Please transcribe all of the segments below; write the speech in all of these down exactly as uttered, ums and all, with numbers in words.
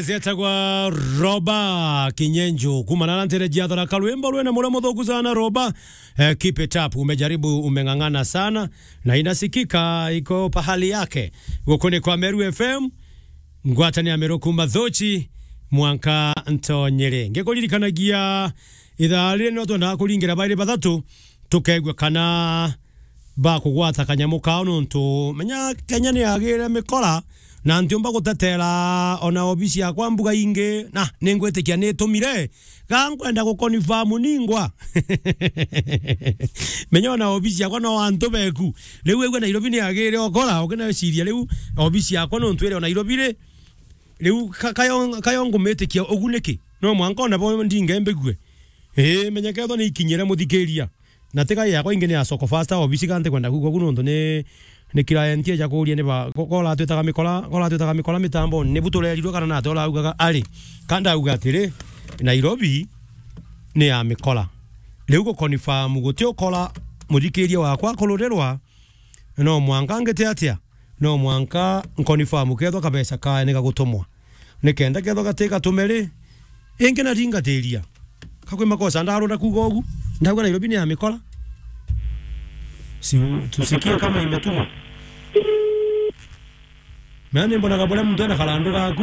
Zetagwa Roba Kinyenjo, kumana na ntere jia Tharaka, rwimbo rwina muria muthuku sana, Roba. Eh, keep it up, umejaribu, umeng'ang'ana sana, na inasikika iko pahali yake. Guku ni kwa Meru F M, ngwataniro ya Meru kuma Thuchi, mwanka Ntonyere. Ngikuririkanagia ithaa riri no twendaga kuringira bairi bathatu, tukaigua kana bakugwata kanyamu kao, nontu menya Kenya ni yagire mikora, na ntiumba gutetera ona obisi yakwa mbuga ingi, na ningwitikia nitumire, ga nkwenda guconfirm ningwa. Menya ona obisi yakwa no antu beku. Riu wigua Nairobi ni yagire ukora, ukineciria riu obisi yakwa nontu iri o Nairobi ri, riu ka-, kayo, kayo ngumitikia ugu niki? No mwanka ona bo ndinge mbigue. Ii, menya kethwa ni ikinyire muthikiria. Na tiga yakwa ingi ni ya Soko Fasta, obisi ka ntikwenda kuigua ku nontu ni, ni client eja kuria ni ba, ko, ko uratwitaga mikora, ko uratwitaga mikora mitamboni, ni bu turerirwe kana nate uraugaga ari. Ka ndauga atiri, Nairobi ni ya mikora. Riu guconfirm guti ukora, muthikiria wakwa kururirwa, no mwanka ngite atia? No mwanka nconfirm kethwa kabeca kae ni gagutumwa. Nikenda kethwa gati gatume ri, ingi na ringatiria. Ka kwi makosa ndarunda kuuga ugu? Ndauga Nairobi ni ya mikora. Si tusikie kama imetumwa. Mea ni mbonaga buria muntu ena karandu gaku.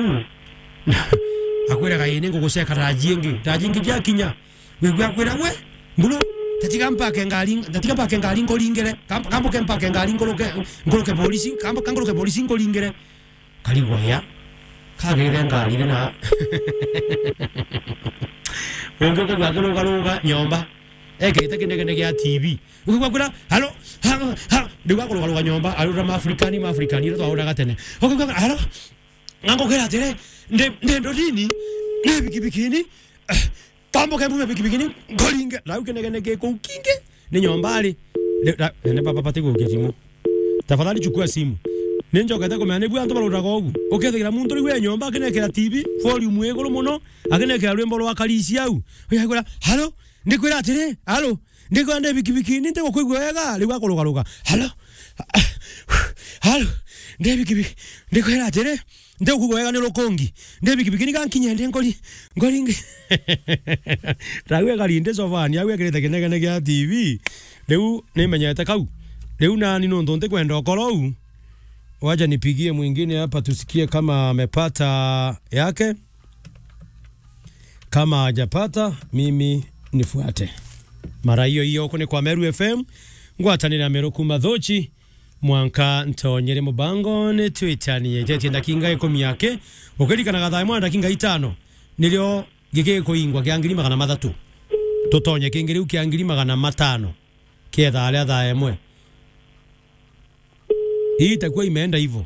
Akwiraga, "Ii, ni nguguceka raji ingi." Raji ingi jakinya. Wigua akwira, "We, mburu, tatiga mpake ngari, tatiga mpake ngari nkuringire. Kam-, kambuke mpake ngari nkuruke, nkuruke polisi, kambu-, kankuruke polisi nkuringire." Karigwa ya. Kagire ngari ri na. Ungi ukigua akirugaruga nyomba. Ekirite kinegene gia T V. Ukigua akwira, "Halo, halo, halo." Riu akurugaruga nyomba, arura Maafrikani, Maafrikani, iria twauraga tene. Ukigua, "Halo?" Ngangukira atiri, "Ndi, ndi ndodini, ni bikibikini, eh, tambuke mbume bikibikini, nkoringe." Rau kinegene gi kuu kingi, ni nyomba ari. Ni, ra-, ni baba bati gukia simu. Tafadhali chukua simu. Ni njokete kumenya ni bu antu baruraga ugu. Ukethagira muntu riu e nyomba akinekira T V, volume iguru muno, akinekira rwimbo rwa Karisi au. Uyaigura, "Halo?" Ndikwira atiri, "Halo?" Ndikwira ndi bikibikini, ntigukwigua wega, riu akurugaruga. "Halo? Halo? Ndi bikibiki-, ndikwira atiri, ntigukwigua wega ni rukungi. Ndi bikibikini, gankinye ndi nkori, nkori ngi." Rau ekari ndi sofani, au ekirite kinegene gia T V. Riu nimenyete kau. Riu nani nontu ntikwenda ukora uu. Wacha nipigie mwingine hapa tusikie kama amepata yake. Kama hajapata, mimi nifuate. Mara hiyo hiyo, huku ni kwa Meru F M, ngwatanire ya Meru kuma Thuchi, mwanka Ntonyere mubango ni twitanie. Jetie ndakinga ikumi yake, ukirikanaga thaa imwe na ndakinga itano, nirio gikikuingwa kia ngiri magana mathatu. Tutonye kingi riu kia ngiri magana matano, kietha aria thaa imwe. Hii itakuwa imeenda hivyo.